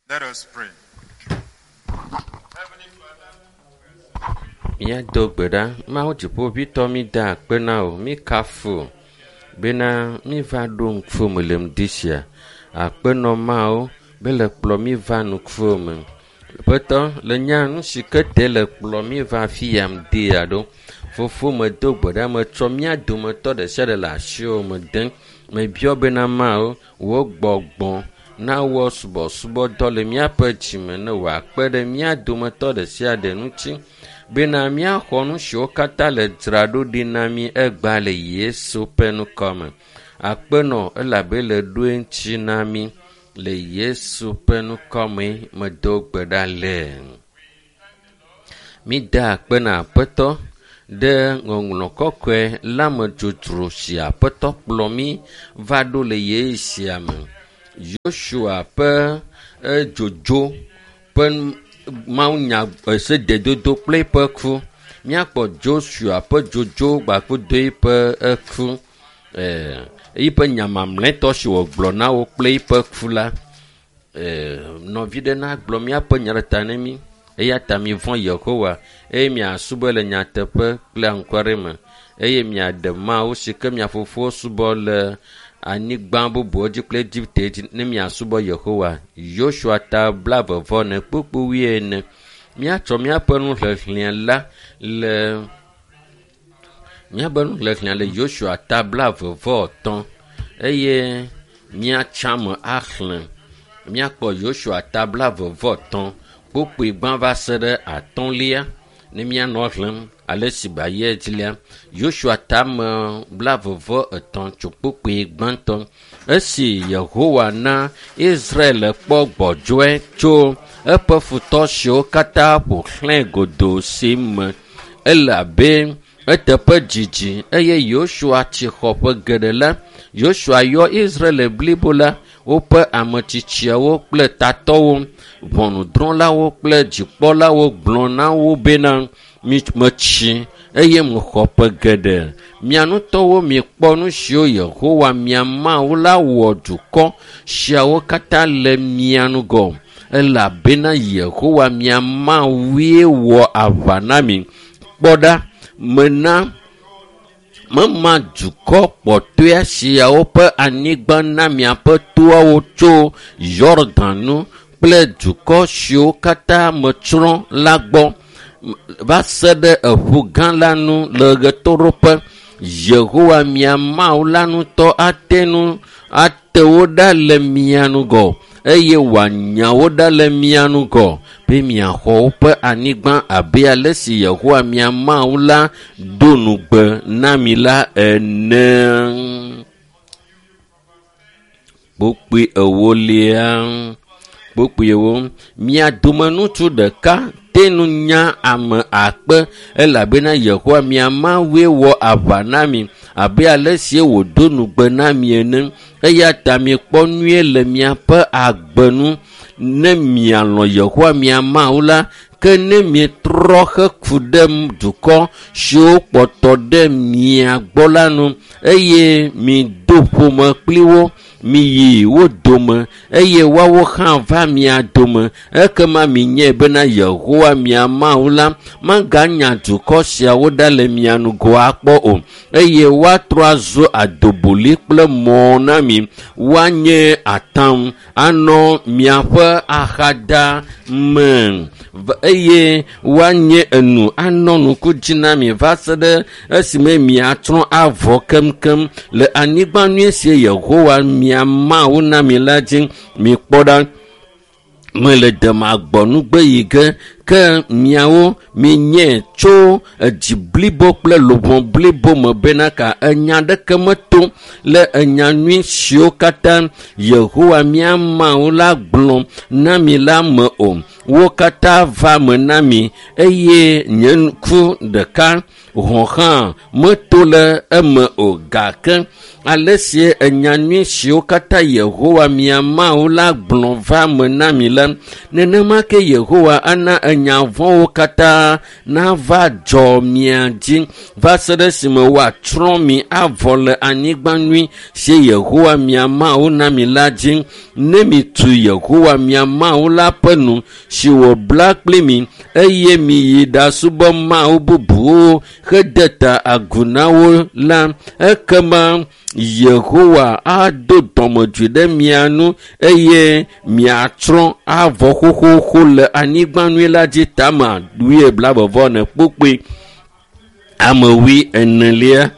Let us pray. Heavenly Father, Míado gbe ɖa. Mawu dziƒoʋĩtɔ mí da akpe na wò. Mí kafu wò bena míva ɖo ŋkuwò me le ŋdi sia. Akpenɔ Mawu be le kplɔ mí va ŋkuwò me. Ƒetɔ le nya nu si ke te le kplɔ mí va afi ya ŋdi ya ɖo. Fofo medo gbe ɖa metsɔ mía dometɔ ɖe sia ɖe le asiwò me dem. Mebiɔ bena Mawu wò gbɔgbɔ nawɔ subɔsubɔdɔ le míaƒe dzime ne wòakpe ɖe mía dometɔ ɖe sia ɖe ŋuti bena míaxɔ nu siwo katã le dzraɖo ɖi na mí egbea le Yesu ƒe ŋkɔme. Akpenɔ elabe le ɖoe ŋuti na mí le Yesu ƒe ŋkɔme medo gbe ɖa le. Mída akpe na Aƒetɔ ɖe ŋɔŋlɔ kɔkɔe la me dzodzro si Aƒetɔ kplɔ mí va ɖo le ɣeyiɣi sia me. Yosua ƒe edzodzo ƒe mawunya esededodo kple eƒe ku. Míakpɔ Joshua ƒe dzodzo gbakudo eƒe eku. Ee, eƒe nya mamlɛtɔ si wògblɔ na wo kple eƒe ku la, ee, nɔvi ɖe nagblɔ míaƒe nya ɖe ta ne mí. Eya ta mivɔ̃ Yehowa eye miasubɔe le nyateƒe kple anukware me eye miaɖe Mawu si ke mia fofowo subɔ le anyigba bubuwo dzi kple Egipte dzi ne miasubɔ Yehowa. Yosua ta blaeve-vɔ-ene kpukpu wuiene. Míatsɔ míaƒe nuxexlẽ la le míaƒe nuxexlẽ le Yosua ta blaeve-vɔ-etɔ̃ eye míatsa me axlẽ. Míakpɔ Yosua ta blaeve-vɔ-etɔ̃ kpukpui gbã va se ɖe atɔ̃lia ne míanɔ xlẽm ale si ba yi edzi lia. Yosua tame blaeve-vɔ-etɔ̃ tso kpukpui gbãtɔ. Esi Yehowa na Israel kpɔ gbɔdzɔe tso eƒe futɔ siwo katã ƒo xlãe godoo si me elabe eteƒe dzidzi eye Yosua tsi xɔ ƒe geɖe la, Yosua yɔ Israel blibo la, woƒe ametsitsiawo kple tatɔwo, ʋɔnudrɔ̃lawo kple dzikpɔlawo gblɔ na wo bena, metsi eye mexɔ ƒe geɖe. Mia ŋutɔwo mikpɔ nu siwo Yehowa mia Mawu la wɔ dukɔ siawo katã le mia ŋgɔ elabena Yehowa mia Mawue wɔ aʋa na mi. Kpɔ ɖa, mena mema dukɔ kpɔtɔea siawo ƒe anyigba na miaƒe toawo tso Yɔdan nu kple dukɔ siwo katã metsrɔ̃ la gbɔ va se ɖe eƒu gã la nu le ɣetoɖoƒe. Yehowa mia Mawu la ŋutɔ ate ŋu ate wo ɖa le mia ŋgɔ eye wòanya wo ɖa le mia ŋgɔ be miaxɔ woƒe anyigba abe ale si Yehowa mia Mawu la do ŋugbe na mi la ene. Kpukpui ewolia. Kpukpui ewo. Mia dome ŋutsu ɖeka te ŋu nya ame akpe elabena Yehowa mia Mawue wɔ aʋa na mi abe ale si wòdo ŋugbe na mi ene. Eya ta mikpɔ nyuie le miaƒe agbe nu ne mialɔ̃ Yehowa mia Mawu la ke ne mietrɔ heku ɖe dukɔ siwo kpɔtɔ ɖe mia gbɔ la nu eye mido ƒome kpli wo, miyi wo dome eye woawo hã va mia dome ekema minyae bena Yehowa mia Mawu la maganya dukɔ siawo ɖa le mia ŋgɔ akpɔ o eye woatrɔ azu adoboli kple mɔ na mi. Woanye atam anɔ miaƒe axada me eye woanye enu anɔ ŋku dzi na mi va se ɖe esime miatsrɔ̃ avɔ keŋkeŋ le anyigba nyui si Yehowa mia Mawu na mi la dzi. Mikpɔ ɖa, mele demagbɔnugbe yi ge ke miawo mienyae tso edzi blibo kple luʋɔ blibo me bena ka enya ɖeke meto le enya nyui siwo katã Yehowa mía Mawu la gblɔ na mi la me o. Wo katã va me na mi eye nye ŋku ɖeka hɔ̃ hã meto le eme o. Gake ale si enya nyui siwo katã Yehowa mia Mawu la gblɔ va me na mi la, nenema ke Yehowa ana enya vɔ̃wo katã nava dzɔ mia dzi va se ɖe esime woatsrɔ̃ mi avɔ le anyigba nyui si Yehowa mia Mawu na mi la dzi. Ne mitu Yehowa mia Mawu la ƒe nu si wòbla kpli mi eye miyi ɖasubɔ mawu bubuwo hede ta agu na wo la, ekema Yehowa ado dɔmedzoe ɖe mia nu eye miatsrɔ̃ avɔ xoxoxo le anyigba nyui la dzi. Tama wuie blaeve ne kpokpoe ame wui enelia.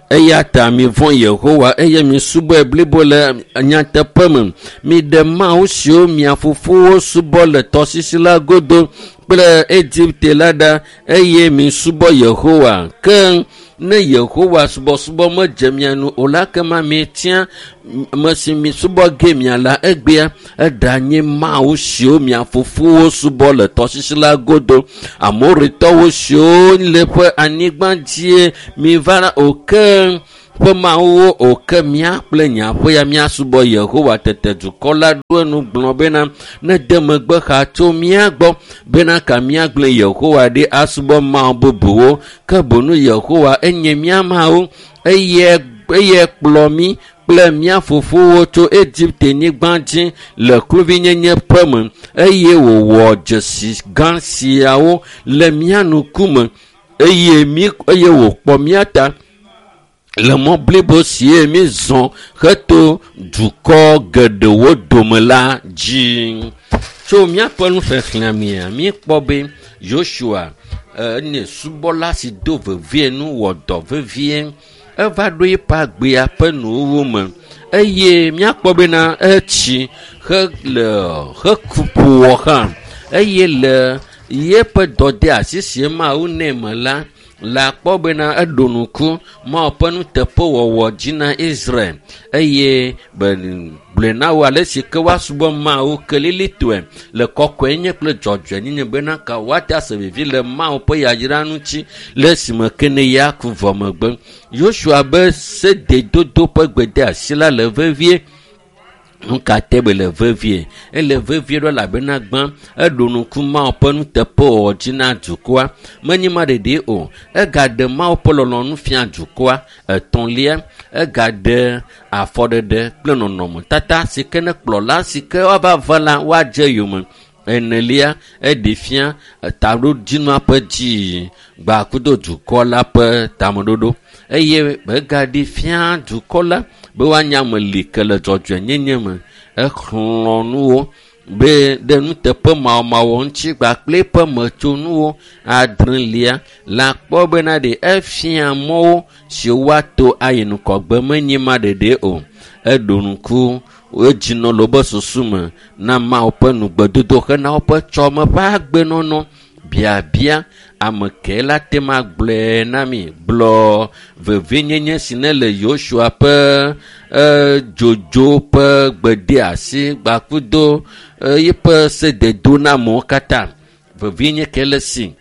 Eya ta mivɔ̃ Yehowa eye misubɔe blibo le nyateƒe me. Miɖe mawu siwo mia fofowo subɔ le tɔsisi la godo kple Egipte la ɖa eye misubɔ Yehowa. Ke ne Yehowa subɔsubɔ medze mia nu o la, kema mietia ame si misubɔ ge mia la egbea eɖanye mawu siwo mia fofowo subɔ le tɔsisi la godo, Amoritɔwo siwo le ƒe anyigba dzie miva o ke ƒe mawuwo o ke mía kple nye aƒe ya míasubɔ Yehowa. Tete dukɔ la ɖo enu gblɔ bena nede megbe xa tso mía gbɔ bena ka míagblẽ Yehowa ɖi asubɔ mawu bubuwo. Ke bonu Yehowa enye mía Mawu eye kplɔ mí kple mía fofowo tso Egipte nyigba dzi le kluvinyenye ƒe me eye wòwɔ dzesi gã siawo le mía ŋkume eye wòkpɔ mía ta le mɔ blibo sie mízɔ heto dukɔ geɖewo dome la dzi. Tso míaƒe nuxexlẽa mea, míekpɔ be Yosua enye subɔla si do vevie nu wɔ dɔ vevie. Eva ɖo eƒe agbea ƒe nuwuwu me eye míakpɔ bena etsi heku ƒo wɔ hã eye le yeƒe dɔdeasi si Mawu nɛ me la, la kpɔ bena eɖo ŋku Mawu ƒe nuteƒewɔwɔ dzi na Israel eye gblɔe na wo ale si ke woasubɔ Mawu kelilitɔe le kɔkɔenyenye kple dzɔdzɔenyenye bena ka woate ase vivi le Mawu ƒe yayra ŋuti le esime ke ne ya ku vɔ megbe. Yosua be sededodo ƒe gbedeasi la le vevie. Nu ka te be le vevie? Ele vevie ɖo elabena gbã eɖo ŋku Mawu ƒe nuteƒewɔwɔ dzi na dukɔa. Menye ma ɖeɖe o, egaɖe Mawu ƒe lɔlɔ̃nu fia dukɔa. Etɔ̃lia, egaɖe afɔɖeɖe kple nɔnɔmetata si ke ne kplɔla si ke woava va la woadze yome. Enelia, eɖe fia taɖodzinua ƒe dziyiyi gbakudo dukɔ la ƒe tameɖoɖo eye egaɖe fia dukɔ la be woanye ame li ke le dzɔdzɔenyenye me. Exlɔ̃ nu wo be ɖe nuteƒe mawɔmawɔ ŋuti kpakple eƒe metsonuwo. Adrelia, la kpɔ bena ɖe efia mɔwo siwo woato ayi ŋgɔgbe menye ma ɖeɖe o. Eɖo ŋku edzinɔ le woƒe susu me na Mawu ƒe nugbedodo hena woƒe tsɔme ƒe agbenɔnɔ. Biabia ame ke la te ma gblɔe na mi gblɔ vevienyenye si ne le Yosua ƒe dzodzo ƒe gbedeasi gbakudo eƒe sededonamewo katã. Vevienye ke le si.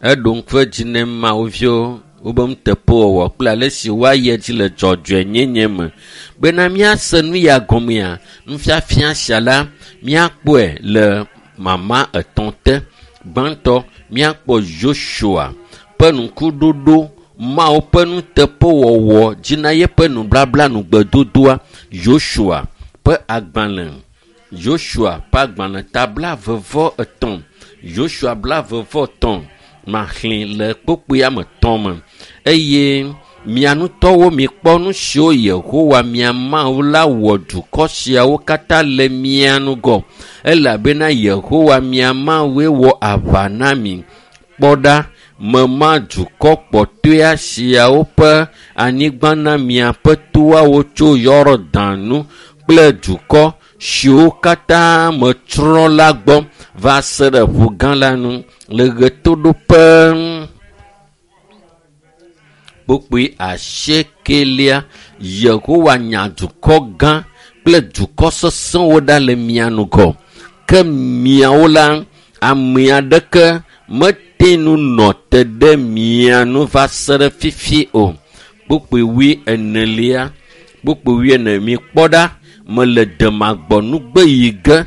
Eɖo ŋku edzi ne Mawu viwo wobe nuteƒewɔwɔ kple ale si woayi edzi le dzɔdzɔenyenye me bena míase nu ya gɔmea, nufiafia sia la míakpɔe le mama etɔ̃ te. Gbãtɔ, míakpɔ Yosua ƒe ŋkuɖoɖo Mawu ƒe nuteƒewɔwɔ dzi na yeƒe nublabla nugbedodoa. Yosua ƒe agbalẽ, Yosua ƒe agbalẽ ta 23, Yosua 23 maxlẽ le kpokpoea me tɔ̃ me eye mia ŋutɔwo mikpɔ nu siwo Yehowa mia Mawu la wɔ dukɔ siawo katã le mia ŋgɔ elabena Yehowa mia Mawue wɔ aʋa na mi. Kpɔ ɖa, mema dukɔ kpɔtɔea siawo ƒe anyigba na miaƒe toawo tso Yɔdan nu kple dukɔ siwo katã metsrɔ̃ la gbɔ va se ɖe ƒu gã la nu le ɣetoɖoƒe. kpokpoe asiekelia Yehowa nya dukɔ gã kple dukɔ sesẽwo ɖa le mia ŋgɔ. Ke miawo la, ame aɖeke mete nu nɔ te ɖe mia nu va se ɖe fifi o. Kpokpoe wui enelia, kpokpoe wui ene mikpɔ ɖa, mele demagbɔ nugbe yi ge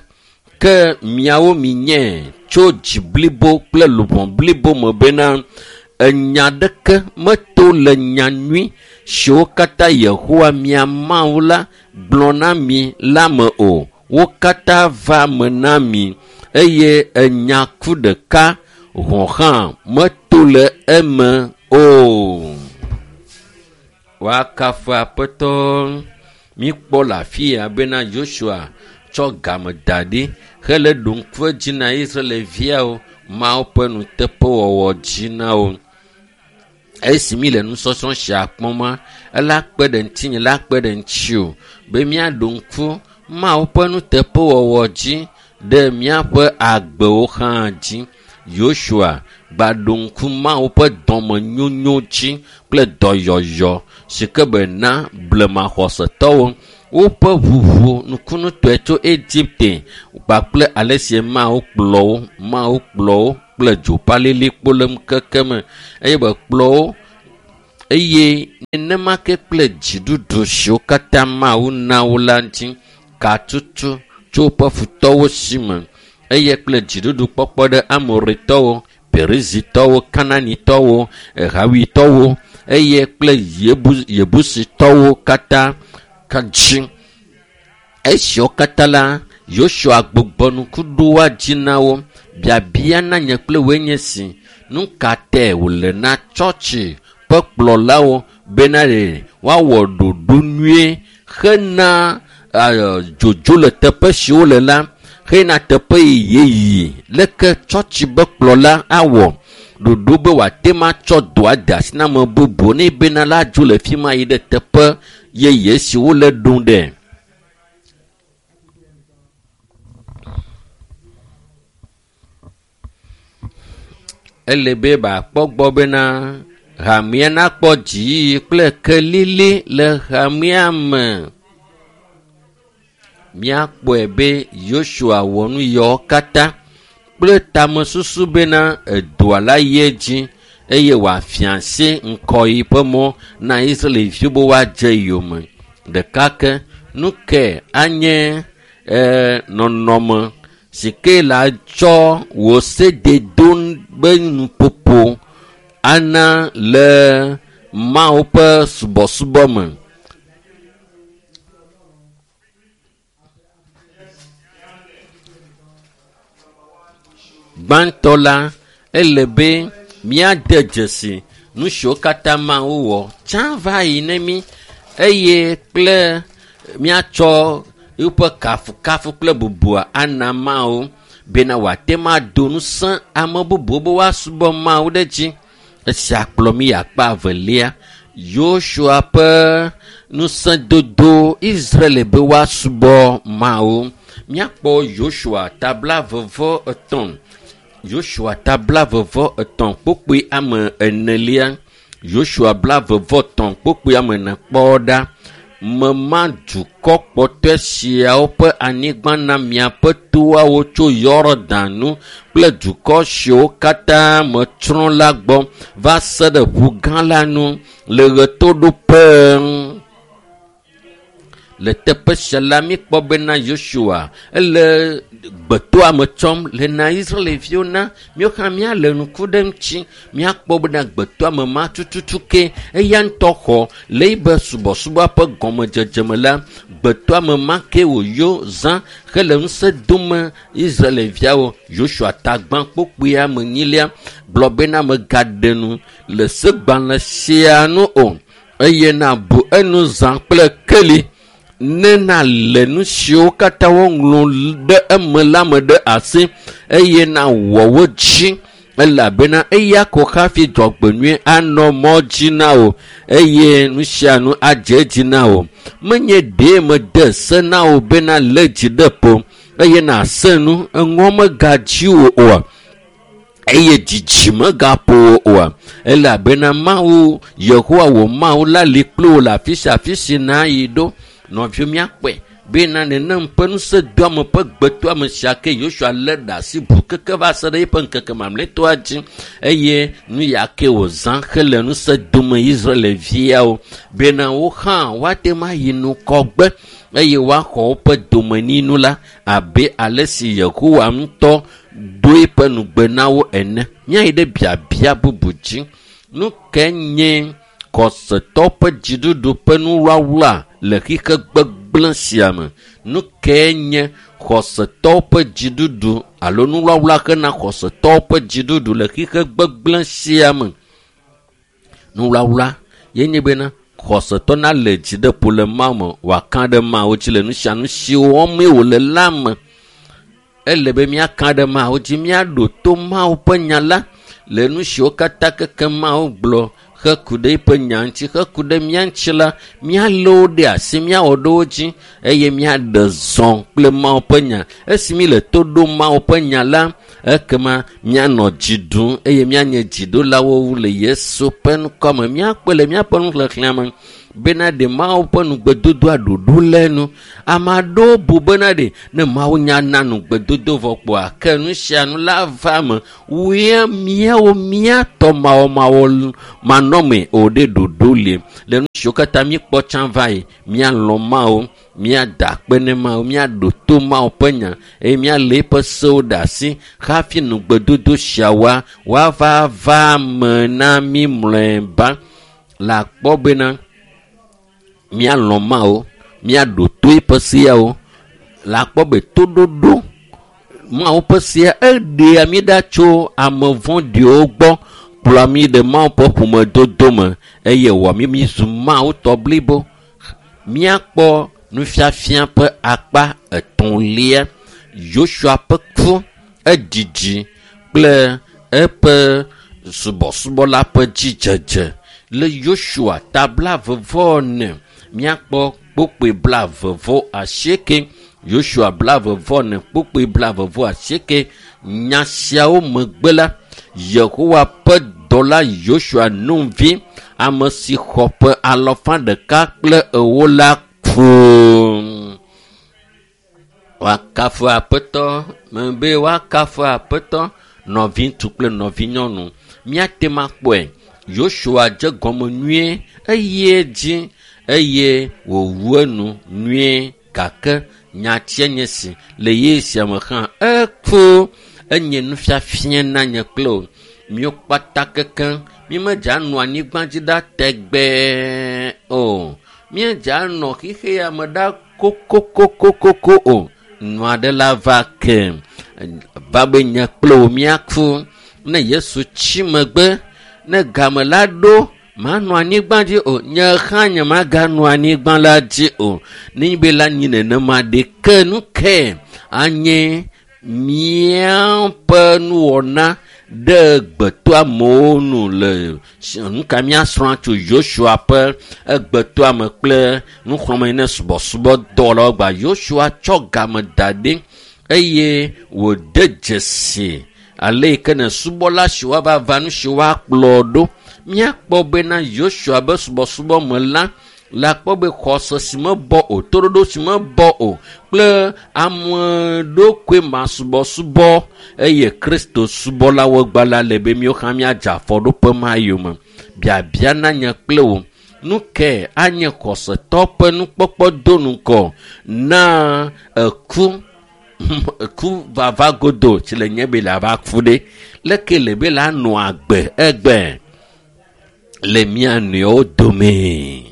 ke miawo minye tso dzi blibo kple luʋɔ blibo me bena enya ɖeke meto le nya nyui siwo katã Yehowa mia Mawu la gblɔ na mi la me o. Wo katã va me na mi eye enya ku ɖeka hɔ̃ hã meto le eme o. Woakafu Aƒetɔ. Míkpɔ le afi ya bena Yosua tsɔ game da ɖi hele ɖo ŋku edzi na Israelviawo Mawu ƒe nuteƒewɔwɔ dzi na wo. Esi mi le nusɔsrɔ̃ sia kpɔm ela kpe ɖe ŋutinye la kpe ɖe ŋutiwò be míaɖo ŋku Mawu ƒe nuteƒewɔwɔ dzi ɖe míaƒe agbewo hã dzi. Yosua gbaɖo ŋku Mawu ƒe dɔmenyonyo dzi kple dɔyɔyɔ si ke bena blemaxɔsetɔwo woƒe ʋuʋu nukunutɔe tso Egipte kpakple ale si Mawu kplɔ wo, Mawu kplɔ wo kple dzopalilikpo le ŋkeke me eye be kplɔ wo eye nenema ke kple dziɖuɖu siwo katã Mawu na wo la ŋuti katutu tso woƒe futɔwo si me eye kple dziɖuɖu kpɔkpɔ ɖe Amoritɔwo, Perizitɔwo, Kananitɔwo, Hawitɔwo eye kple Yebusitɔwo katã ka dzi. Esiawo katã la, Yosua gbugbɔ ŋku ɖo woa dzi na wo. Biabia na nye kple woe nye si, nu ka tae wòle na tsɔtsi ƒe kplɔlawo bena ɖe woawɔ ɖoɖo nyuie hena dzodzo le teƒe si wole la hena teƒe yeye leke tsɔtsi be kplɔla awɔ ɖoɖo be wòate ŋu atsɔ dɔa de asi na ame bubu ne bena la dzo le fi ma yi ɖe teƒe yeye si wole ɖom ɖe. Ele be bakpɔ gbɔ bena hamea nakpɔ dziyiyi kple kelili le hamea me. Míakpɔe be Yosua wɔ nu yawo katã kple tamesusu bena edoa la yi edzi eye wòafia asi ŋkɔyi ƒe mɔ na Israelviwo be woadze yome. Ɖeka ke nu ke anye nɔnɔme si ke la tsɔ wò sededo be nuƒoƒo ana le Mawu ƒe subɔsubɔ me. Gbãtɔ la, ele be míade dzesi nu siwo katã Mawu wɔ tsã va yi ne mí eye kple míatsɔ eƒe kafukafu kple bubua ana Mawu bena wòate ŋu ado ŋusẽ ame bubuwo be woasubɔ Mawu ɖe edzi. Esia kplɔ mí akpa evelia. Yosua ƒe ŋusẽdodo Israel be woasubɔ Mawu. Míakpɔ Yosua ta 23. Yosua ta 23 kpokpoe ame enelia. Yosua 23 kpokpoe ame ene kpɔ ɖa. Mema dukɔ kpɔtɔe siawo ƒe anyigba na miaƒe toawo tso Yɔdan nu kple dukɔ siwo katã metsrɔ̃ la gbɔ va se ɖe ƒu gã la nu le ɣetoɖoƒe. Le teƒe sia la, míkpɔ bena Yosua ele gbetoa me tsɔm le na Israelviwo na míawo hã míale ŋku ɖe eŋuti. Míakpɔ bena gbetoa me ma tututu ke eya ŋutɔ xɔ le yibe subɔsubɔ ƒe gɔmedzedze me la, gbetoa me ma ke wòyɔ zã hele ŋusẽ dome Israelviawo. Yosua ta gbã kpokpoea me nyilia gblɔ bena megaɖe nu le segbalẽ sia nu o eye nabu enu zã kple keli ne nalé nu siwo katã woŋlɔ ɖe eme la me ɖe asi eye nawɔ wo dzi elabena eya ko hafi dzɔgbenyui anɔ mɔ dzi na wò eye nu sia nu adze edzi na wò. Menye ɖee mede se na wò bena lé dzi ɖe ƒo eye nàse nu eŋɔ megadzi wò oa. Eye dzidzi megaƒo wò oa, elabena Mawu, Yehowa wò Mawu la li kpli wò le afi sia afi si nàyi ɖo. Nɔviwo, míakpɔe bena nenem ƒe ŋusẽdoame ƒe gbetoame sia ke Yosua lé ɖe asi ʋu keke va se ɖe eƒe ŋkeke mamlɛtɔa dzi, eye nu ya ke wòzã hele ŋusẽ dome Israelviawo bena wo hã woate ŋu ayi ŋgɔgbe eye woaxɔ woƒe domenyinu la abe ale si Yehowa ŋutɔ do eƒe nugbe na wo ene. Míayi ɖe biabia bubu dzi. Nu ke nye xɔsetɔ ƒe dziɖuɖu ƒe nuwlawla le xixe gbegblẽ sia me? Nu ke nye xɔsetɔ ƒe dziɖuɖu alo nuwlawla hena xɔsetɔ ƒe dziɖuɖu le xixe gbegblẽ sia me? Nuwlawla ye nye bena xɔsetɔ nalé dzi ɖe ƒo le Mawu me, wòaka ɖe Mawu dzi le nu sia nu si wɔmee wòle la me. Ele be míaka ɖe Mawu dzi, míaɖo to Mawu ƒe nya la le nu siwo katã keke Mawu gblɔ heku ɖe eƒe nya ŋuti, heku ɖe mía ŋuti la, míalé wo ɖe asi, míawɔ ɖe wo dzi eye míaɖe zɔ kple Mawu ƒe nya. Esi míle to ɖom Mawu ƒe nya la, ekema míanɔ dzi ɖum eye míanye dziɖulawo le Yesu ƒe ŋkɔme. Míakpɔe le míaƒe nuxexlẽa me bena ɖe Mawu ƒe nugbedodoa ɖoɖo le enu. Ame aɖewo bu bena ɖe ne Mawu nya na nugbedodo vɔ kpoa, ke nu sia nu la va eme. Woe míawo míatɔ mawɔmawɔ manɔme o ɖe ɖoɖo li. Le nu siwo katã míekpɔ tsã va yi, míalɔ̃ Mawu, míada akpe ne Mawu, míaɖo to Mawu ƒe nya eye míalé eƒe sewo ɖe asi hafi nugbedodo siawoa woava va eme na mí mlɔeba. Le akpɔ bena míalɔ̃ Mawu, míaɖo to eƒe seawo. Le akpɔ be toɖoɖo Mawu ƒe sea eɖea mí ɖa tso ame vɔ̃ɖiwo gbɔ, kplɔa mí ɖe Mawu ƒe ƒomedodo me eye wɔ mí mízu Mawu tɔ blibo. Míakpɔ nufiafia ƒe akpa etɔ̃lia. Yosua ƒe ku, edzidzi kple eƒe subɔsubɔ la ƒe dzidzedze. Le Yosua ta 44, míakpɔ kpukpui 48. Yosua 44, kpukpui 48. Nya siawo megbe la, Yehowa ƒe dɔla Yosua Nun vi, ame si xɔ ƒe 140 la ku. Woakafu Aƒetɔ, mebe woakafu Aƒetɔ, nɔviŋutsu kple nɔvinyɔnu. Míate ŋu akpɔe. Yosua dze gɔme nyuie eye dzi eye wòwu enu nyuie, gake nyatia nye si le ye sia me hã eku. Enye nufiafia na nye kple wò. Míwo kpata kekeŋ mímedze anɔ anyigba dzi ɖa tegbee o. Míedze anɔ xixe ya me ɖa kokokokokoko o. Nu aɖe la va ke va be nye kple wò míaku. Ne Yesu tsi megbe, ne game la ɖo, manɔ anyigba dzi o. Nye hã nye maganɔ anyigba la dzi o. Nenye be la nyi nenema ɖeke nu ke anye míaƒe nuwɔna ɖe gbetoamewo nu le nu ka míasrɔ̃ tso Yosua ƒe egbetoame kple nuxlɔ̃ame ne subɔsubɔdɔwɔlawo gba. Yosua tsɔ game da ɖi eye wòde dzesi ale yi ke ne subɔla si woava va nu si woakplɔ ɖo. Míakpɔ bena Yosua be subɔsubɔ me la, le akpɔ be xɔse si mebɔ o, toɖoɖo si mebɔ o kple ame ɖokui masubɔsubɔ eye Kristo subɔlawo gba la le be míwo hã míadze afɔɖoƒe ma yome. Biabia na nye kple wò. Nu ke anye xɔsetɔ ƒe nukpɔkpɔ do ŋgɔ na eku, eku vava godo si le nye be le ava ku ɖe. Leke le be la nɔ agbe egbe le mía nɔewo dome.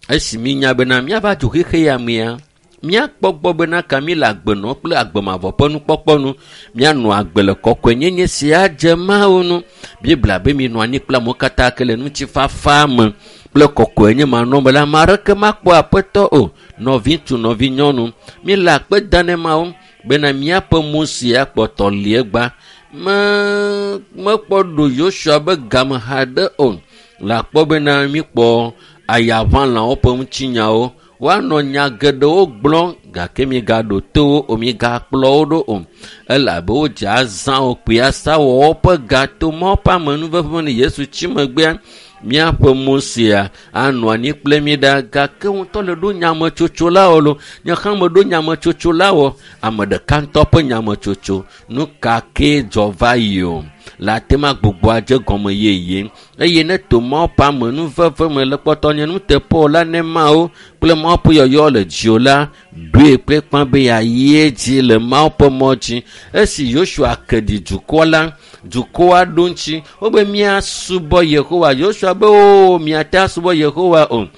Esi mínya bena míava dzo xexe ya mea, míakpɔ gbɔ bena ka mí le agbenɔ kple agbemavɔ ƒe nukpɔkpɔ nu. Míanɔ agbe le kɔkɔenyenye sia dze Mawu nu. Biblia be minɔ anyi kple amewo katã ke le ŋutifafa me kple kɔkɔenye manɔme la, ame aɖeke makpɔ Aƒetɔ o. Nɔviŋutsu, nɔvinyɔnu, míele akpe dam ne Mawu bena míaƒe Mose akpɔtɔ li egba. Mekpɔ ɖo Yosua be game haɖe o. Le akpɔ bena míkpɔ ayaʋãlawo ƒe ŋutinyawo. Woanɔ nya geɖewo gblɔm gake migaɖo to wo o, migakplɔ wo ɖo o. Elabe wodze azã wo kpui asa wɔ woƒe ga to Mawu ƒe amenuveve me ne Yesu tsi megbea. Míaƒe Mosea anɔ anyi kple mi ɖa gake ŋutɔ le ɖo nyametsotso la wɔ lo. Nye hã meɖo nyametsotso la wɔ. Ame ɖeka ŋutɔ ƒe nyametsotso. Nu ka kee dzɔ va yi o. Le ate ma gbogbo adze gɔme yeye. Eye ne to Mawu ƒe amenuveve me le kpɔtɔ nye nuteƒewɔla la ne Mawu kple Mawu ƒe yɔyɔ le dziwò la, ɖoe kple kpã be yeayi edzi le Mawu ƒe mɔ dzi. Esi Yosua ke ɖi dukɔ la, dukɔa ɖo ŋuti wobe míasubɔ Yehowa. Yosua be o miate asubɔ Yehowa o.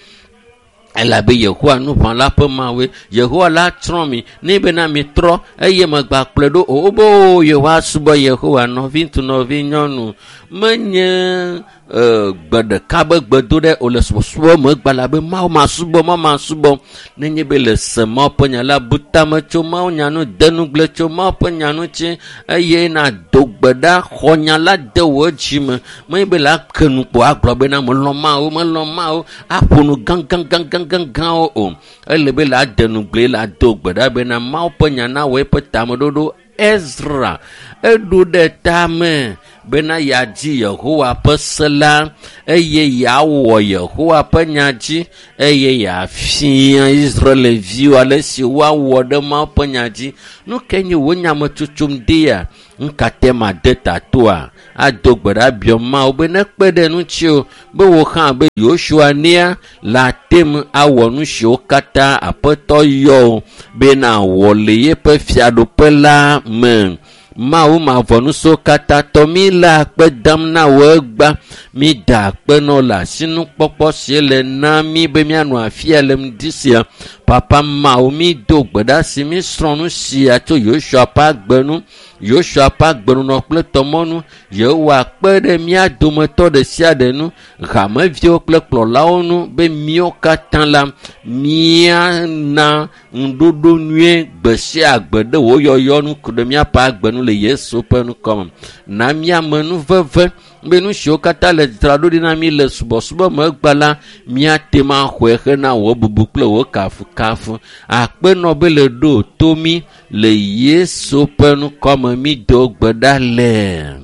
Elabe Yehowa nuʋãla ƒe Mawue. Yehowa la tsrɔ̃ mi ne bena mitrɔ eye megba kplɔe ɖo o. Wobe o yewoa subɔ Yehowa. Nɔviŋutsu, nɔvinyɔnu, menye gbe ɖeka be gbedo ɖe o le subɔsubɔ me gba la be Mawu masubɔ, Mawu masubɔ. Nenye be le se Mawu ƒe nya la, bu tame tso Mawu nya nu, de nugble tso Mawu ƒe nya ŋuti eye nàdo gbe ɖa xɔ nya la de wò dzi me. Menye be la ke nu kpo agblɔ bena melɔ̃ Mawu, melɔ̃ Mawu, aƒo nu gãgãgãgãgãwo o. Ele be la de nugble la do gbe ɖa bena Mawu ƒe nya nawɔ eƒe tameɖoɖo. Ezra eɖo ɖe tame bena yeadzi Yehowa ƒe se la eye yeawɔ Yehowa ƒe nya dzi eye yeafia Israelviwo ale si woawɔ ɖe Mawu ƒe nya dzi. Nu kae nye wò nyametsotso ŋdea? Nu ka te made tatoa? Ado gbe ɖa biɔ Mawu be nekpe ɖe ŋutiwò be wò hã be Yosua nea le ate ŋu awɔ nu siwo katã Aƒetɔ yɔ wò be nàwɔ le yeƒe fiaɖuƒe la me. Mawu mavɔ nu siwo katã tɔ mí le akpe dam na wò egbea. Mída akpe nɔ le asinukpɔkpɔ si le na mí be míanɔ afia le ŋdi sia. Papa Mawu, mído gbe ɖa si mísrɔ̃ nu sia tso Yosua ƒe agbe nu. Yosua ƒe agbenɔnɔ kple tɔmɔnu. Yehowa kpe ɖe mía dometɔ ɖe sia ɖe nu, hameviwo kple kplɔlawo nu be míawo katã la míana ŋuɖoɖo nyuie gbe sia gbe ɖe wò yɔyɔ nu ku ɖe míaƒe agbe nu le Yesu ƒe ŋkɔ me. Na míame nuveve be nu siwo katã le dzraɖo ɖi na mí le subɔsubɔ me egbea la, míate ŋu axɔe hena wò bubu kple wò kafukafu. Akpenɔ be le ɖo to mí le Yesu ƒe ŋkɔ me mído gbe ɖa le.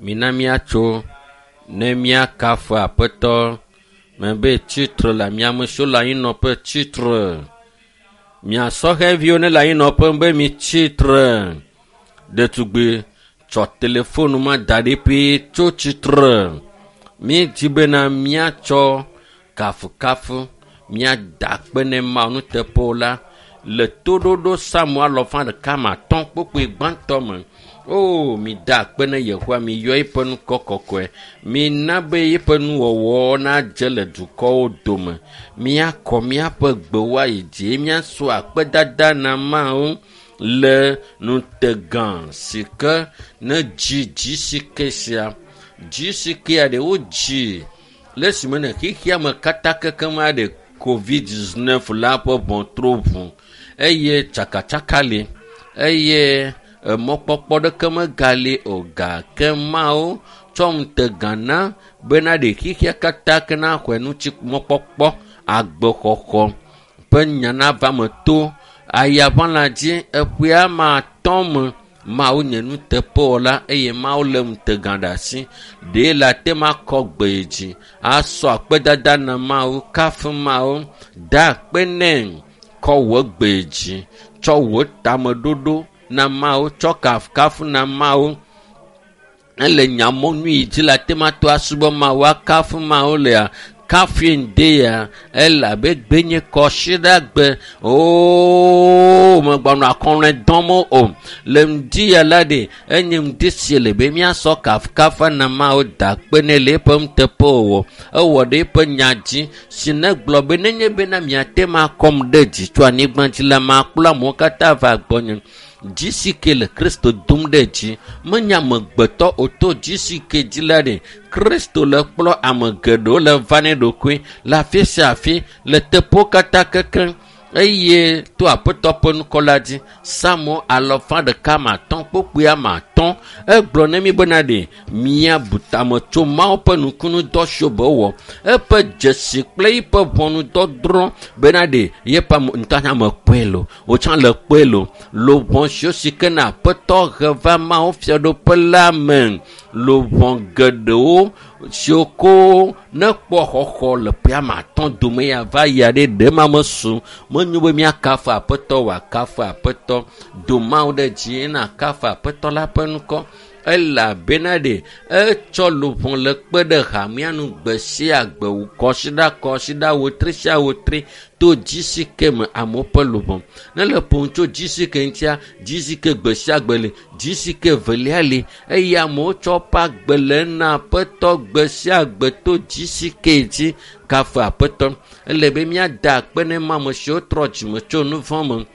Mina míatso ne míakafu Aƒetɔ mebe tsitre le ame siwo le anyinɔƒe tsitre. Mia sɔhɛviwo ne le anyinɔƒe be mi tsitre. Ɖetugbi tsɔ telefonu ma da ɖi ƒe tso tsitre. Míedzi bena míatsɔ kafukafu míada akpe ne Mawu nuteƒewo la le toɖoɖo Psalmo alɔfa ɖeka ma atɔ̃ kpukpui gbãtɔ me. O, mida akpe ne Yehowa, miyɔ eƒe ŋkɔ kɔkɔe. Mina be eƒe nuwɔwɔ nadze le dukɔwo dome. Míakɔ míaƒe gbewo ayi dzi, míasɔ akpedada na Mawu le ŋutegã si ke ne dzi dzisike sia. Dzisikea ɖe wodzi le esime ne xexea me katã kekem aɖe COVID-19 la ƒe ʋɔtru ʋu eye tsakatsaka li eye emɔkpɔkpɔ ɖeke megali o gake Mawu tsɔ ŋutegã na bena ɖe xexea katã ke naxɔe ŋuti mɔkpɔkpɔ agbexɔxɔ ƒe nya nava me to ayaʋãla dzi eƒea ma atɔ̃ me. Mawu nye nuteƒewɔla eye Mawu lé ŋutegã ɖe asi. Ɖe le ate ŋu akɔ gbe yi dzi asɔ akpedada na Mawu, kafu Mawu, da akpe nɛ, kɔ wò gbe yi dzi, tsɔ wò tameɖoɖo na Mawu, tsɔ kafukafu na Mawu. Ele nyamɔnu yi dzi le ate ŋu ato asubɔ Mawu, akafu Mawu lea, kafui ŋdea, elabe gbe nye kɔsiɖagbe. Oo, megbɔnɔ akɔlɔe dɔm o. Le ŋdi ya la ɖe, enye ŋdi si le be míasɔ kafukafu na Mawu da akpe nɛ le eƒe nuteƒewɔwɔ. Ewɔ ɖe eƒe nya dzi si negblɔ be nenye bena miate ŋu akɔm ɖe dzi tso anyigba dzi la, makplɔ amewo katã va gbɔnye. Dzi si ke le Kristo dom ɖe dzi menye amegbetɔ o to dzi si ke dzi la ɖe Kristo le kplɔ ame geɖewo le va nɛ ɖokui le afi sia afi le teƒewo katã kekeŋ. Eye to aƒetɔ ƒe ŋkɔ la dzi Psalmo 105:3 egblɔ ne mi bena ɖe míabu tame tso Mawu ƒe nukunudɔ siwo be wɔ eƒe dzesi kple eƒe ʋɔnudɔdrɔ̃ bena ɖe yeƒe ame ŋutɔ hã me kpɔe lo wotsã le kpɔe lo luʋɔ siwo si ke na aƒetɔ he va Mawu fiaɖuƒe la me luʋɔ geɖewo siwo ko ne kpɔ xɔxɔ le ƒe ame atɔ̃ dome ya va yia ɖe ɖe ma mesu menyo be míakafu aƒetɔ wòakafu aƒetɔ do Mawu ɖe dzi na kafu aƒetɔ la ƒe ŋkɔ elabena ɖe etsɔ luʋɔ le kpe ɖe hamea nu gbe sia gbe kɔsiɖa kɔsiɖa wotri sia wotri to dzisike me amewo ƒe luʋɔ ne le ƒom tso dzisike ŋutia dzisike gbe sia gbe li dzisike velia li eye amewo tsɔ woƒe agbe le na aƒetɔ gbe sia gbe to dzisike dzi kafu aƒetɔ ele be míada akpe ne ma ame siwo trɔ dzime tso nu vɔ̃ me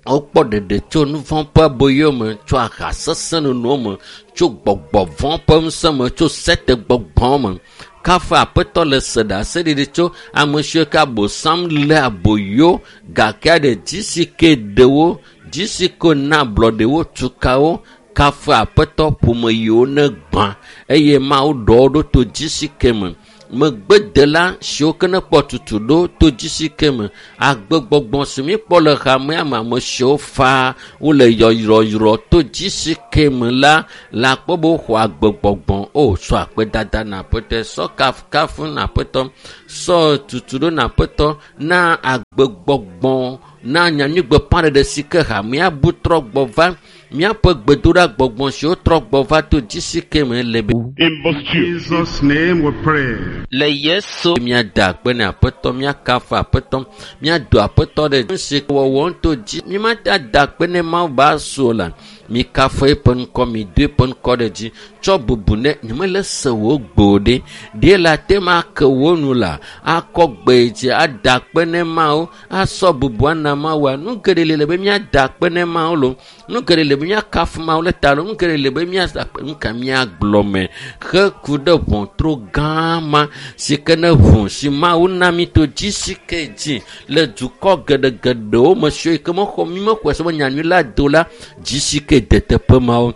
wokpɔ ɖeɖe tso nu vɔ̃ ƒe aboyo me tso aha sesẽ nono me tso gbɔgbɔ vɔ̃ ƒe ŋusẽ me tso sete gbɔgbɔ me kafu aƒetɔ le se ɖaseɖiɖi tso ame siwo ke abosam lé aboyo gake ɖe dzisike ɖewo dzisike na ablɔɖewo tukawo kafu aƒetɔ ƒome yiwo ne gbã eye Mawu ɖɔ wo ɖo to dzisike me megbedela siwo ke ne kpɔ tutu ɖo to dzisike me agbegbɔgbɔ si míkpɔ le hamea me ame siwo faa wole yɔyrɔyrɔ to dzisike me la le akpɔ be woxɔ agbegbɔgbɔ o sɔ akpedada na aƒetɔ sɔ kafukafu na aƒetɔ sɔ tutu ɖo na aƒetɔ na agbegbɔgbɔ na nyanyuigbeƒãɖeɖe si ke hamea bu trɔ gbɔ va míaƒe gbedoɖa gbɔgbɔ siwo trɔ gbɔ va to dzisike me le be In In Jesus' name we pray. Le Yesu míada akpe ne aƒetɔ míakafu aƒetɔ míado aƒetɔ ɖe nu si wɔwɔ to dzi mímate ada akpe ne Mawu ba su o la mikafu eƒe ŋkɔ mido eƒe ŋkɔ ɖe dzi tsɔ bubu ne nyemele se wò gbe o ɖe ɖe le ate ma ake wò nu la akɔ gbe dzi ada akpe ne Mawu asɔ bubu ana Mawua nu geɖe li le be míada akpe ne Mawu lo nu geɖe li be míakafu Mawu le ta lo nu geɖe li be míada akpe nu ka míagblɔ me heku ɖe ʋɔtru gã ma si ke ne ʋu si Mawu na mí to dzi si ke dzi le dukɔ geɖegeɖewo me siwo yi ke mexɔ mí mexɔe se be nyanyui la do la dzi si ke de teƒe mawo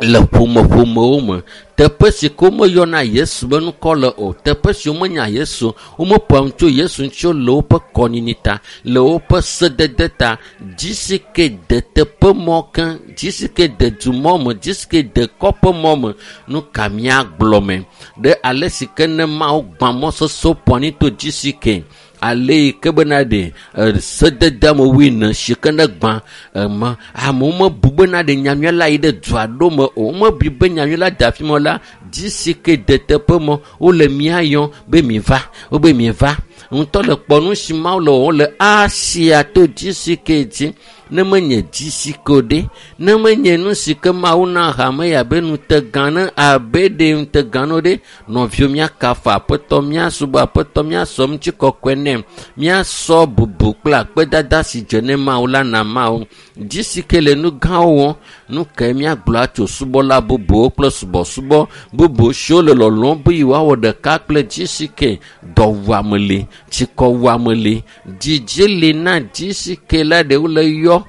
le ƒomeƒomewo me teƒe si ke womeyɔna Yesu be ŋkɔ le o teƒe si womenya Yesu womeƒoa nu tso Yesu ŋuti o le woƒe kɔnyinyi ta le woƒe sedede ta dzi si ke de teƒe mɔ ke dzi si ke de dumɔ me dzi si ke de kɔƒe mɔ me nu ka míagblɔ me ɖe ale si ke ne Mawu gbã mɔ sesẽwo ƒo anyi to dzi si ke ale yi ke bena ɖe sedede amewoe ne si ke ne gbã ema amewo mebu bena ɖe nyanyui la yi ɖe du aɖewo me o womebui be nyanyui la de afi ma o la dzi si ke de teƒe mɔ wole mía yɔm be mi va wobe mi va ŋutɔ le kpɔ nu si Mawu le wɔwɔm le Asia to dzi si ke dzi ne menye dzi si ke o ɖe ne menye nu si ke Mawu na hame ya be ŋutegã ne abe ɖe ŋutegã no ɖe nɔviwo míakafu aƒetɔ míasubɔ aƒetɔ míasɔ ŋutikɔkɔe nɛ míasɔ bubu kple akpedada si dze ne Mawu la na Mawu dzi si ke le nu gãwo wɔm nu kae míagblɔ atso subɔla bubuwo kple subɔsubɔ bubu siwo le lɔlɔ̃m be yewoawɔ ɖeka kple dzi si ke dɔwuame li tsikɔwuame li dzidzi li na dzi si ke la ɖe wole yɔ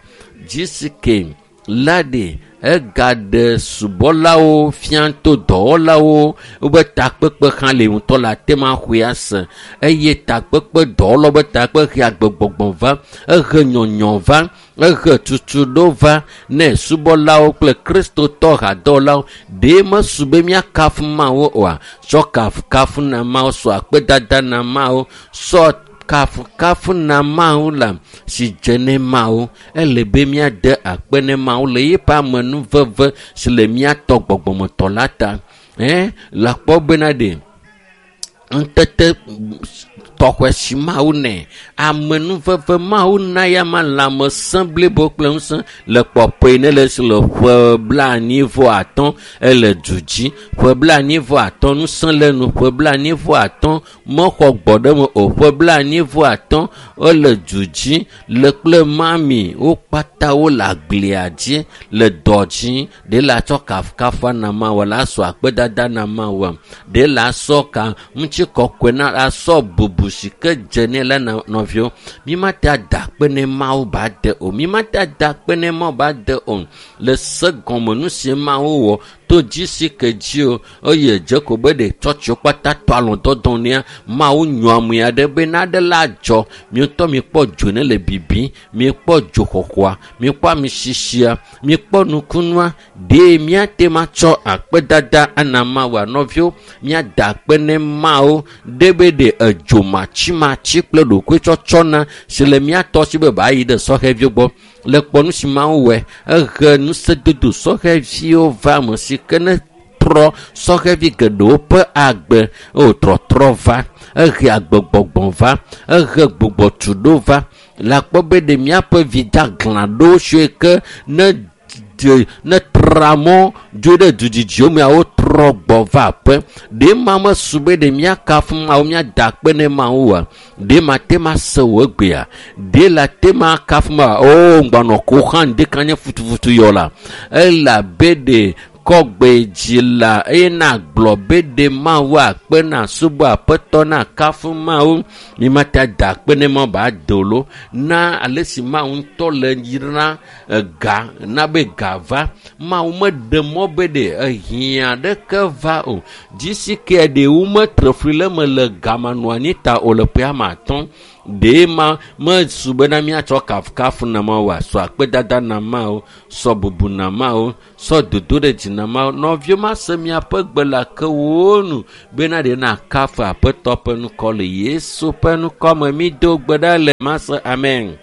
dzi si ke la ɖe egaɖe subɔlawo fia to dɔwɔlawo wobe takpekpe hã le ŋutɔ le ate ma xɔe ase eye takpekpe dɔwɔlawo be takpekpe he agbegbɔgbɔ va ehe nyɔnyɔ va ehe tutuɖo va ne subɔlawo kple kristotɔ hadɔwɔlawo ɖe mesu be míakafu Mawu oa tsɔ kafukafu na Mawu sɔ akpedada na Mawu sɔ kafukafu na Mawu la si dze ne Mawu ele be míade akpe ne Mawu le yeƒe amenuveve si le míatɔ gbɔgbɔmetɔ la ta le akpɔ bena ɖe ŋutete tɔxɔe si Mawu nɛ amenuveve Mawu na ya ma lãmesẽ blibo kple ŋusẽ le kpɔkpɔe ne le si le ƒe 45 ele du dzi ƒe 45 ŋusẽ le nu ƒe 45 mexɔ gbɔ ɖe me o ƒe 45 ele du dzi le kple mami wo kpata wole agblia dzi le dɔ dzi ɖe la tsɔ kafukafu na Mawu la sɔ akpedada na Mawu ɖe la sɔ ka ŋuti ŋutikɔkɔe na asɔ bubu si ke dze nɛ la na nɔviwo. Mi mate ada akpe ne Mawu ba de o. Mi mate ada akpe ne Mawu ba de o. Le se gɔme nu si Mawu wɔ to dzi si ke dzi o eye dze ko be ɖe tsɔtsiwo kpata tɔ alɔdɔdɔ nea Mawu nyɔ ame aɖe be naɖe la dzɔ. Mietɔ mikpɔ dzo ne le bibi, miekpɔ dzoxɔxɔa, miekpɔ amisisia, miekpɔ nukunua. Ɖe miate ma tsɔ akpedada ana Mawua nɔviwo, miada akpe ne Mawu ɖe be ɖe edzo matsimatsi kple ɖokuitsɔtsɔ na si le miatɔ si be ba yi ɖe sɔhɛviwo gbɔ. Le kpɔ nu si Mawu wɔe, ehe ŋusẽdodo sɔhɛviwo va ame si ke ne trɔ sɔhɛvi geɖewo ƒe agbe o trɔtrɔ va, ehe agbegbɔgbɔ va, ehe gbugbɔtuɖo va. Le akpɔ be ɖe miaƒe vi daglã ɖewo siwo ke ne ne tra mɔ dzo ɖe dudzidziwo mea wotrɔ gbɔ va aƒe. Ɖe ma mesu be ɖe miakafu Mawu, miada akpe ne Mawu oa? Ɖe ma te ma se wò egbea? Ɖe la te ma kafu Mawu? O, ŋgbanɔ ko hã ŋdeka nye futufutu yɔ la. Elabe ɖe kɔgbe dzi la eye na gblɔ be ɖe Mawu akpe na subɔ aƒetɔ na kafu Mawu. Mi mate ada akpe ne Mawu ba do lo na ale si Mawu ŋutɔ le yra ga na be ga va. Mawu meɖe mɔ be ɖe ehiã ɖeke va o. Dzi si ke ɖe wo metre fli le eme le gamanɔ anyi ta o le ƒe ame atɔ̃. Ɖe ma mesu bena miatsɔ kafukafu na Mawu sɔ akpedada na Mawu, sɔ bubu na Mawu, sɔ dodo ɖe dzi na Mawu. Nɔviwo mase miaƒe gbe le ake wo nu bena ɖe na kafu aƒetɔ ƒe ŋkɔ le Yesu ƒe ŋkɔ me. Mi do gbe ɖa le mase amen.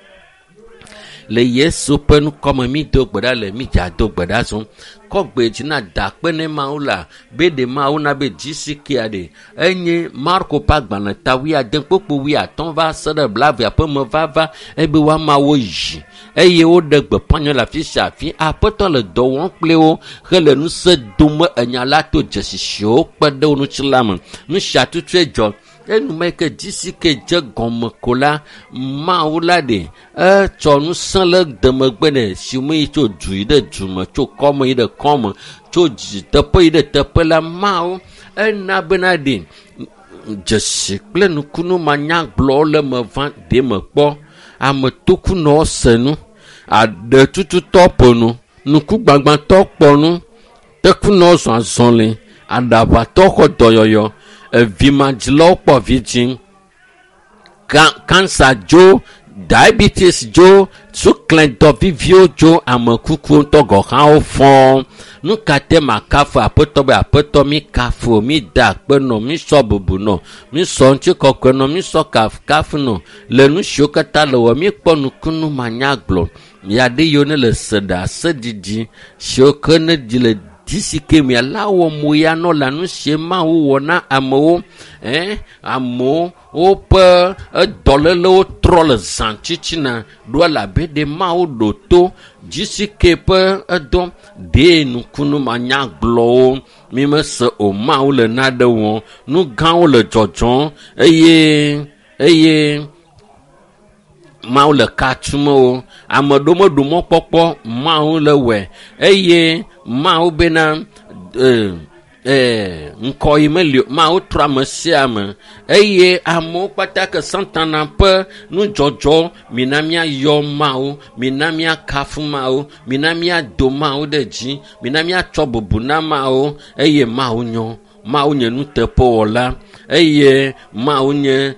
Le Yesu ƒe ŋkɔ me mi do gbe ɖa le mi dza do gbe ɖa zɔm. Kɔ gbe dzi na da akpe ne Mawu la be ɖe Mawu na be dzi si kea ɖe. Enye Marko ƒe agbalẽ ta wuiade kpokpo wuiatɔ̃ va se ɖe blaeve ƒe me vava ebe woamawo yi eye woɖe gbeƒã nyɔ le afi sia afi. Aƒetɔ le dɔ wɔm kple wo hele ŋusẽ dom enya la to dzesi siwo kpe ɖe wo ŋuti la me. Nu sia tutue dzɔ. Enumeke dzi si ke dze gɔme ko la, Mawu la ɖe etsɔ ŋusẽ le demegbe nɛ si me yi tso du yi ɖe du me, tso kɔme yi ɖe kɔme, tso dzi teƒe yi ɖe teƒe la, Mawu ena bena ɖe dzesi kple nukunu manyagblɔwo le me va ɖe me kpɔ. Ame tokunɔwo se nu, aɖetututɔ ƒo nu, nukugbagbãtɔ kpɔ nu, tekunɔwo zɔ azɔli, aɖaʋatɔ xɔ dɔyɔyɔ, evimadzilawo kpɔ vidzĩ, kansa dzo, diabetes dzo, suklẽdɔ viviwo dzo, ame kukuwo ŋutɔ gɔ̃ hã wofɔ. Nu ka te makafu aƒetɔ be aƒetɔ mi kafu, mi da akpe nɔ, mi sɔ bubu nɔ, mi sɔ ŋutikɔkɔe nɔ, mi sɔ kafukafu nɔ le nu siwo katã le wɔ, mi kpɔ nukunu manyagblɔ. Ya ɖe yiwo ne le se ɖe aseɖiɖi siwo ke ne dzi le dzi si ke mia la wɔ mo ya nɔ la nu sie Mawu wɔ na amewo. Amewo woƒe edɔlélewo trɔ le zã tsitsina ɖo elabe ɖe Mawu ɖo to dzi si ke ƒe edɔ ɖe nukunu manyagblɔwo. Mi mese o Mawu le naɖe wɔm, nu gãwo le dzɔdzɔm eye Mawu le ka tum wo. Ame ɖewo meɖo mɔkpɔkpɔ Mawu le wɔe eye Mawu bena ŋkɔ yi meli o. Mawu trɔ ame sia ame eye amewo kpata ke Satana ƒe nudzɔdzɔ mina míayɔ Mawu, mina míakafu Mawu, mina míado Mawu ɖe dzi, mina míatsɔ bubu na Mawu eye Mawu nyɔ. Mawu nye nuteƒewɔla eye Mawu nye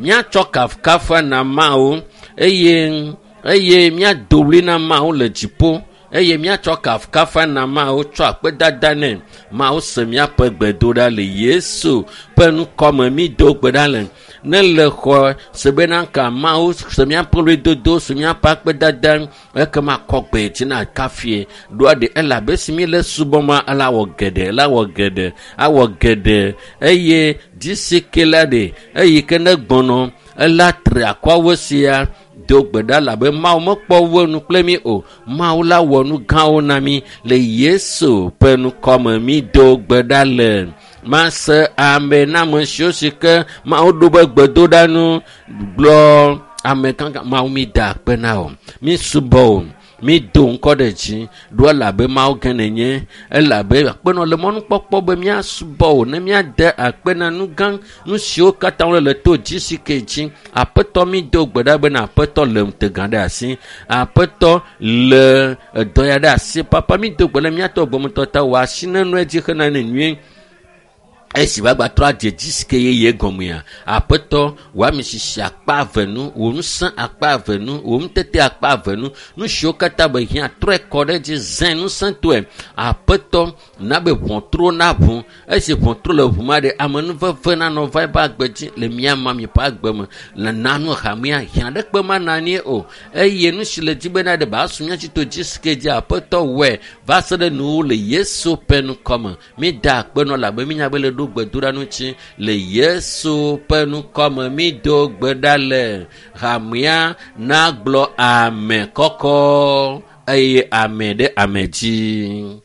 míatsɔ kafukafu na Mawu eye míado ɣli na Mawu le dziƒo eye míatsɔ kafukafu na Mawu tsɔ akpedada nɛ. Mawu se míaƒe gbedoɖa le Yesu ƒe ŋkɔ me. Mi do gbe ɖa le ne le xɔ se bena ka Mawu se míaƒe ɣlidodo, se míaƒe akpedada ekema kɔ gbe dzi na kafie ɖoa ɖe elabe si mi le subɔma ela wɔ geɖe, ela wɔ geɖe, awɔ geɖe eye dzi si ke la ɖe eyi ke ne gbɔnɔ ela tri akɔawo sia do gbe ɖa labe Mawu mekpɔ wo nu kple mi o. Mawu la wɔ nu gãwo na mi le Yesu ƒe ŋkɔ me. Mi do gbe ɖa le mase ame na ame siwo si ke Mawu ɖo be gbedoɖa nu gblɔ ame gãgã. Mawu mi da akpe na o, mi subɔ o. Mi do ŋkɔ ɖe dzi ɖo elabe Mawu gã nènye elabe akpenɔ le mɔnukpɔkpɔ be míasubɔ wò ne míade akpe na nu gã nu siwo katã wole le to dzi si ke dzi. Aƒetɔ mi do gbe ɖa bena aƒetɔ le ŋutegã ɖe asi. Aƒetɔ le edɔ ya ɖe asi. Papa mi do gbe ɖe míatɔ gbɔmetɔ ta wò asi nenɔe dzi hena ne nyuie. Esi woagba trɔ adze dzi si ke yeye gɔmea, aƒetɔ wò ame sisi akpa eve nu, wò ŋusẽ akpa eve nu, wò ŋutete akpa eve nu, nu siwo katã be hiã trɔe kɔ ɖe edzi zẽ ŋusẽtɔe. Aƒetɔ na be ʋɔtruwo naʋu. Esi ʋɔtru le ʋu ma ɖe, amenuveve nanɔ va eƒe agbe dzi le mía mami ƒe agbe me. Le nanu hamea hiã ɖekpe mana anyi o. Eye nu si le dzi bena ɖe ba su mía dzi to dzi si ke dzi aƒetɔ wɔe va se ɖe nuwo le Yesu ƒe ŋkɔme. Mi da akpe nɔ labe mi nya be le ɖo gbedoɖa ŋuti le Yesu ƒe ŋkɔme. Mi do gbe ɖa le hamea nagblɔ ame kɔkɔ eye ame ɖe ame dzi.